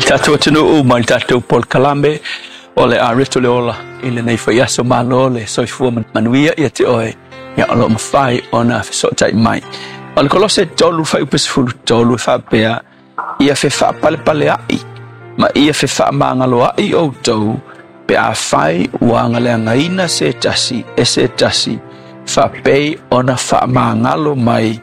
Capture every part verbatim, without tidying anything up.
Tatou atunuu ma le tatou polokalame o le areto le ola i lenei faiaso malo le soifua manuia ia te oe ia o loo mafai ona fesootai mai. O le Kolose tolu fuaiupu sefulu tolu e faapea ia fefaapalepaleai ma ia fefaamagaloai outou pe afai ua agaleagaina se tasi e se tasi faapei ona faamagalo mai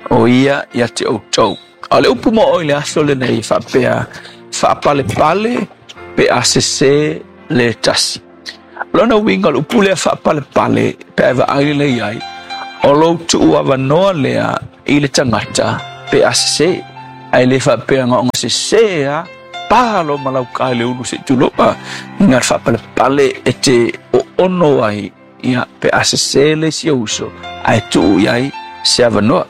o ia ia te outou. O le upu mo oe i le aso lenei faapea faapalepale pe a sese le tasi. Lona uiga o le upu lea faapalepale pe a vaai lelei ai, o lou tuuavanoa lea i le tagata pe a sese. Ae le faapea ona sese a pa lo malauka i le ulu se i tulou inga le faapalepale e te oono ai ia pe a sese le isi ou uso ae tuu i ai se avanoa.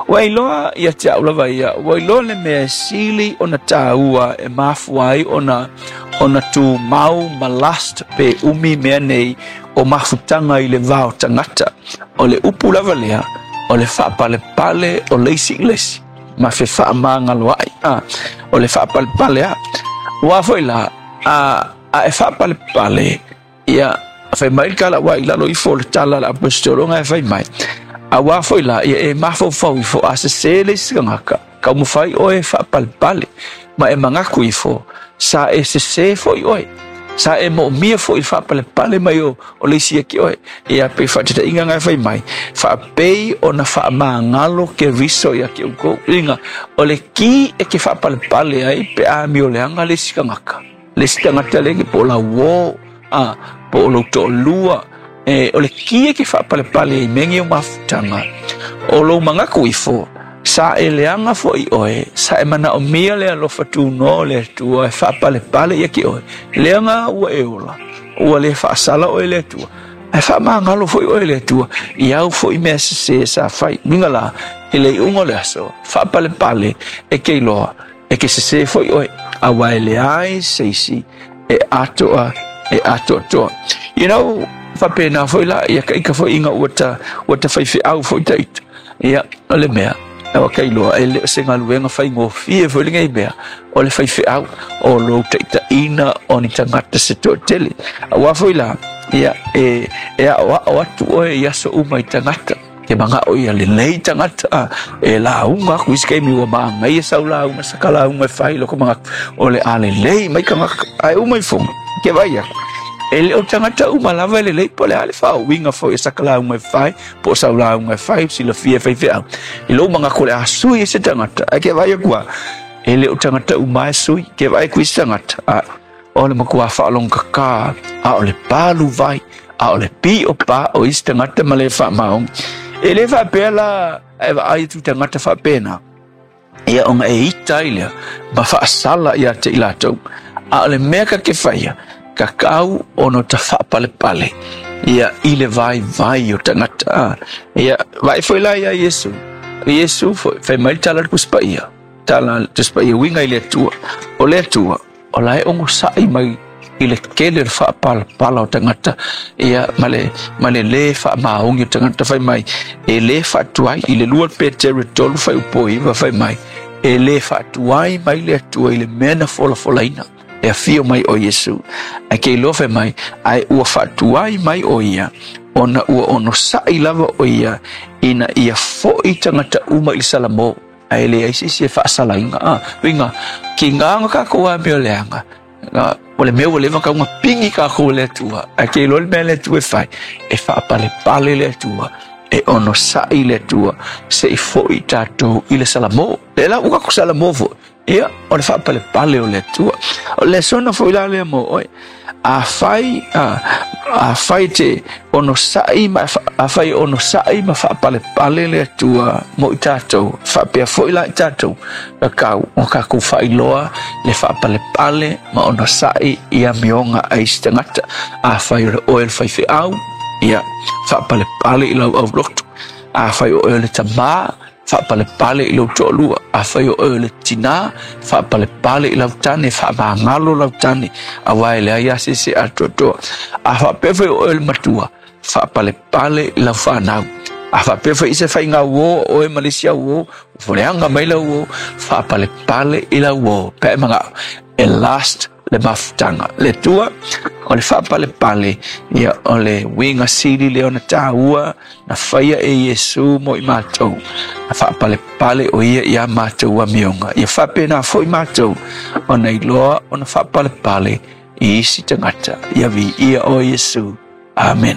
Ua iloa ia te au lava ia, ua iloa le mea e sili ona tāua e mafua ai ona ona tumau ma last pe umi mea nei o mafutaga i le va o tagata. O le upu lava lea, o le faapalepale o le isi i le isi ma fefaamagaloai. Ah, o le faapalepale a. Ua foi la, a, a e faapalepale, ia, fai mai le tala ua i lalo ifo o le tala a le aposetologa e fai mai. Auā foi la, ia e mafaufau ifo a sesē le isi tagata, taumafai oe e faapalepale, ma e manatu ifo, sa e sesē foi oe. Sa e moomia foi i le faapalepale mai o, o le isi ia te oe. Ia pei faataitaiga na e fai mai, faapei ona faamagalo Keriso ia te outou. Uiga, o le ki e te faapalepale ai pe a amioleaga le isi tagata. Le isi tagata lea po o lau uō, a, po o lou toalua, e, o le ki e ke faapalepale ai i mea nei o mafutaga, o lou manatu ifo, sa e leaga foi oe, sa e manaomia le alofa tunoa o le Atua e faapalepale ia te oe, leaga ua e ola, ua le faasala oe e le Atua, ae faamagalo foi oe e le Atua i au foi mea sesē sa fai. Uiga la, i le iuga o le aso, faapalepale e ke iloa, e ke sesē foi oe, auā e leai se isi e atoa e atoatoa. You know, faapena foi la, ia ka ika foi ina ua ta, ua ta faifeau foi ta ita. Ia, o le mea, ua ka iloa, e le o se galuega faigofie foi lenei mea, o le faifeau, o lou taitaiina o ni tagata se toatele. Auā foi la, ia, e, e aoao atu oe i aso uma i tagata. Ke manao ia lelei tagata a e lauga aku i isi taimi ua manaia sau lauga saka lauga e fai loko manatu o le a lelei mai tagata ae uma ifoga ke vaai aku e le o tagata uma lava e lelei po o le a le faauiga foi o saka lauga e fai po o sau lauga e fai silafia e faifeau i lou manatu o le a sui ai se tagata ae ke vaai aku a e le o tagata uma e sui ke vaai aku i isi tagata a o le matua faalogogata a o le palu vai a o le pio pa o isi tagata ma le faamaoni. E le faapea la e vaai atu i tagata faapena, ia ona e ita ai lea ma faasala ia te i latou. A o le mea ka ke faia, tatau ona ta faapalepale ia i le vaivai o tagata. A, ia, vaai foi la ia Iesu. O Iesu foi, fai mai le tala a le Tusi Paia, tala a le Tusi Paia uiga i le Atua. O le Atua, o la e onosai mai i le tele o le faapalapala o tagata ia ma le ma le lē faamaoni o tagata fai mai e lē faatuai i le lua Petere tolu fuaiupu iva fai mai e lē faatuai mai le Atua i le mea na folafolaina e afio mai o Iesu ae ke iloa fai mai ae ua faatuai mai o ia ona ua onosai lava o ia ina ia fo'i tagata uma i le salamo ae leai se isi e faasalaina a uiga kiga ona tatou amioleaga o le mea ua leva ona tau pigi tatou e le Atua ae ke iloa le mea a le Atua e fai e faapalepale le Atua e onosai le Atua se i fo'i tatou i le salamo lea la ua tatou salamo foi ia o le faapalepale o le Atua o le lesona foi la lea mo oe afai a afai te onosai ma afai e onosai ma faapalepale le Atua mo i tatou faapea foi la i tatou tatau ona tatou faailoa le faapalepale ma onosai i amioga a isi tagata afai o le oe o le faifeau ia faapalepale i lau aulotu afai o oe o le tamā faapalepale i lou toalua afai o oe o le tinā faapalepale i lau tane faamagalo lau tane auā e leai lava se isi e atoatoa a faapea foi o oe o le matua faapalepale i lau fanau A faapea foi se faiga uō a oe ma le isi auō, ua leaga mai lau uō, faapalepale i lau uō pe a e manao e last le mafutaga. Le Atua o le faapalepale, ia o le uiga sili lea ona taua na faia e Iesu mo i matou. Na faapalepale o ia iā matou amioga. Ia faapena foi matou ona iloa ona faapalepale i isi tagata. Ia viia oe Iesu. Amen.